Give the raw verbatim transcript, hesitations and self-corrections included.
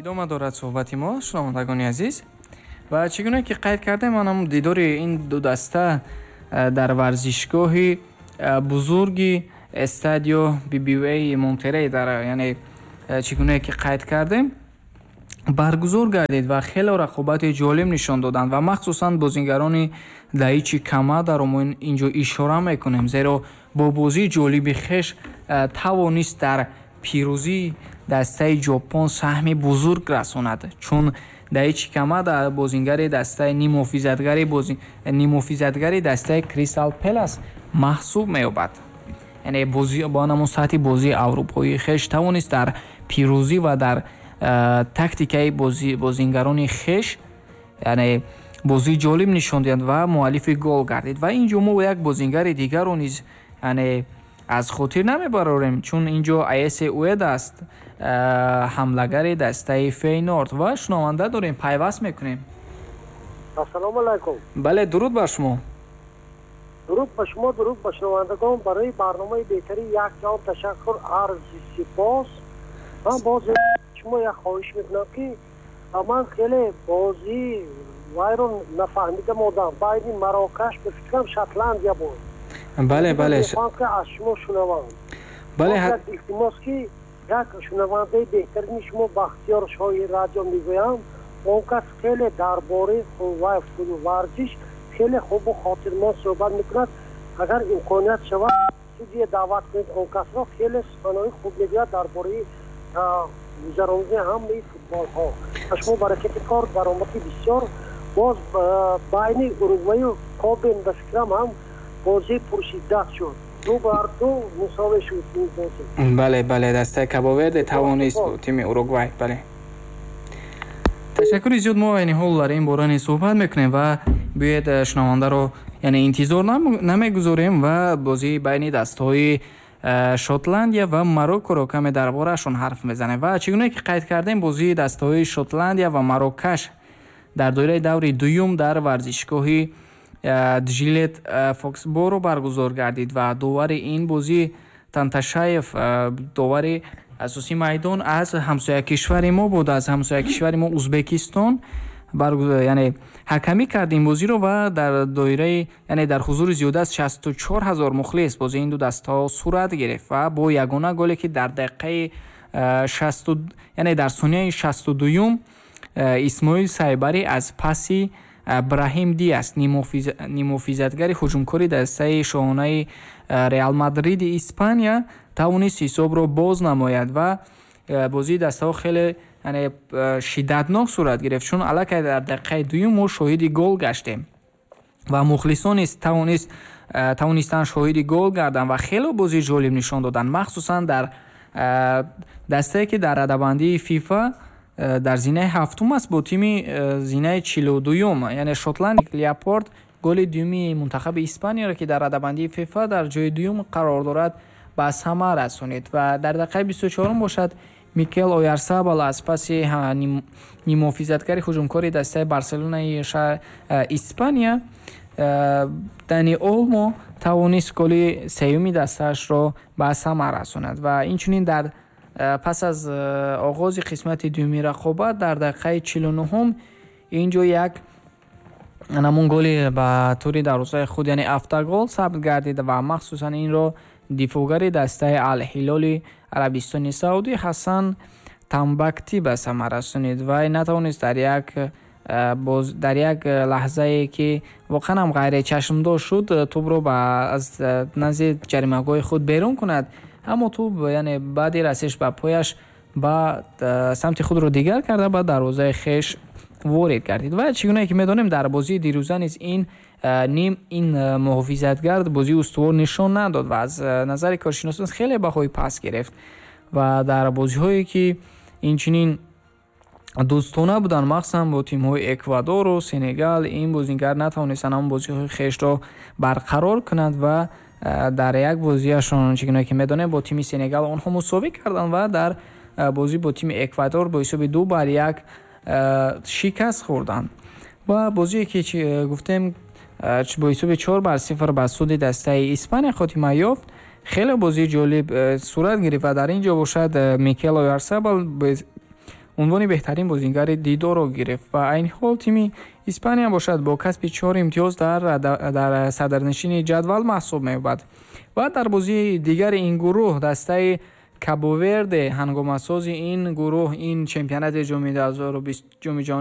Идома дорад суҳбати мо, шунавандагони азиз. Ва чӣ гуна ки қайд кардем, манам дидори ин ду даста дар варзишгоҳи бузурги Эстадио Би Би Ви А Монтерей дар, яъне чӣ гуна ки қайд кардем, баргузор гардид ва хеле рақобати ҷолиб нишон доданд ва махсусан бозигарони Даичи Камадаро мо инҷо ишора мекунем, зеро бо бозии ҷолиби хеш тавонист дар пирӯзии дастаи Ҷопон саҳми бузург расонад, чун Даичи Камада бозингари дастаи нимҳофизатгари бози нимҳофизатгари дастаи Кристал Пелас маҳсуб меёбад. Яъне бозӣ бо ҳамон сатҳи бозии аврупоии хеш тавонист дар пирӯзӣ ва дар тактикаи бозингарони хеш, яъне бозии ҷолиб нишон диҳад ва муаллифи гол гардид. Ва инҷо мо як бозингари дигарро низ, яъне аз хотир намебарорем, чун инҷо Аесе Уэда аст, ҳамлагари дастаи Фейнорд. Ва шунаванда дорем, пайваст мекунем. Ассалому алайкум. Бале, дуруд бар шумо. Дуруд ба шумо, дуруд ба шунавандагон. Барои барномаи беҳтарин як ҷаҳон ташаккур, арзи сипос. Ман боз шумо як хоҳиш мекунам, ки ман хеле бозӣ вайро нафаҳмида мондам, байни Марокаш, ба фикрам, Шотландия буд. Бале, бале. Мехоҳам, ки аз шумо шунавам. Бале. Як илтимос, ки як шунавандаи беҳтарини шумо, Бахтиёр Шоҳи радио мегӯям, он кас хеле дар бораи варзиш хеле хубу хотирмон суҳбат мекунад. Агар имконият шавад, студия даъват кунед он касро, хеле суханои хуб мегӯяд дар бораи гузаронидани ҳамаи футболҳо. Ба шумо баракати кор, даромади бисёр. Боз байни Уругваю Кобен, ба фикрам, ҳам бозии пуршиддат шуд, ду бар ду мусовӣ шуд ин бозӣ. Бале, бале, дастаи Кабоверде тавонист бо тими Уругвай. Бале, ташаккури зиёд. Мо айни ҳол дар ин бора низ суҳбат мекунем ва биёед, э, шунавандаро, яъне интизор намегузорем ва бозии байни дастаҳои э, Шотландия ва Мароккоро каме дар бораашон ҳарф мезанем. Ва чӣ гуна ки қайд кардем, бозии дастаҳои Шотландия ва Марокаш дар доираи даври дуюм дар варзишгоҳи э, Джилет Фоксборо баргузор гардид ва довари ин бозӣ Танташаев, довари асосии майдон, аз ҳамсоя кишвари мо буд, аз ҳамсоя кишвари мо Узбекистон, яъне ҳакамӣ кард ин бозиро. Ва дар доираи, яъне дар ҳузури зиёда аз шасту чор ҳазор мухлис бозии ин ду дастаҳо сурат гирифт ва бо ягона голе, ки дар дақиқаи шасту, яъне дар сонияи шасту дуюм Исмоил Сайбарӣ аз паси Браҳим Диас, нимҳофизатгари ҳуҷумкори дастаи шоҳонаи Реал Мадриди Испания, тавонист ҳисобро боз намояд. Ва бозии дастаҳо хеле, яъне шиддатнок сурат гирифт, чун аллакай дар дақиқаи дуюм мо шоҳиди гол гаштем ва мухлисон низ тавонист тавонистанд шоҳиди гол гарданд ва хеле бозии ҷолиб нишон доданд, махсусан дар дастае, ки дар радабандии ФИФА дар зинаи ҳафтум аст, бо тими зинаи чилу дуюм, яъне Шотланд. Ляпорт голи дуюми мунтахаби Испанияро, ки дар радабандии ФИФА дар ҷои дуюм қарор дорад, ба самар расонид. Ва дар дақиқаи бисту чорум бошад, Микел Оярсабал аз паси нимҳофизатгари ҳуҷумкори дастаи Барселонаи Испания Дани Олмо тавонист голи сеюми дастаашро ба самар расонад. Ва инчунин дар пас аз оғози қисмати дуюми рақобат дар дақиқаи чилу нуҳум инҷо як намун голи ба тури дарвозаи худ, яъне автогол сабт гардид ва махсусан инро дифоъгари дастаи Алҳилоли Арабистони Саудӣ Ҳасан Тамбакти ба самар расонид. Вай натавонист дар як дар як лаҳзае, ки воқеан ҳам ғайричашмдошт шуд, тӯбро аз назди ҷаримагоҳи худ берун кунад, аммо тӯб, яъне баъди расиш ба пояш, ба самти худро дигар карда, ба дарвозаи хеш ворид гардид. Ва чӣ гунае ки медонем, дар бозии дирӯза низ ин ним ин муҳофизатгард бозии устувор нишон надод ва аз назари коршиносон хеле баҳои паст гирифт. Ва дар бозиҳое, ки инчунин дӯстона буданд, махсусан бо тимҳои Эквадору Сенегал, ин бозингар натавонистанд ҳамон бозиҳои хешро барқарор кунад. Ва дар як бозиашон, чӣ гуна ки медонем, бо тими Сенегал онҳо мусовӣ карданд ва дар бозӣ бо тими Эквадор бо ҳисоби ду бар як шикаст хӯрданд. Ва бозие, ки гуфтем, бо ҳисоби чор бар сифр ба суди дастаи Испания хотима ёфт, хеле бозии ҷолиб сурат гирифт. Ва дар ин ҷо бошад, Микел Оярсабал Унвони беҳтарин бозингари дидорро гирифт. Ва айни ҳол тими Испания бошад, бо касби чор имтиёз дар дар садрнишини ҷадвал маҳсуб меёбад. Ва дар бозии дигари ин гурӯҳ дастаи Кабоверде, ҳангомасози ин гурӯҳ, ин чемпионати ҷоми ҷоми ҷаҳонӣ.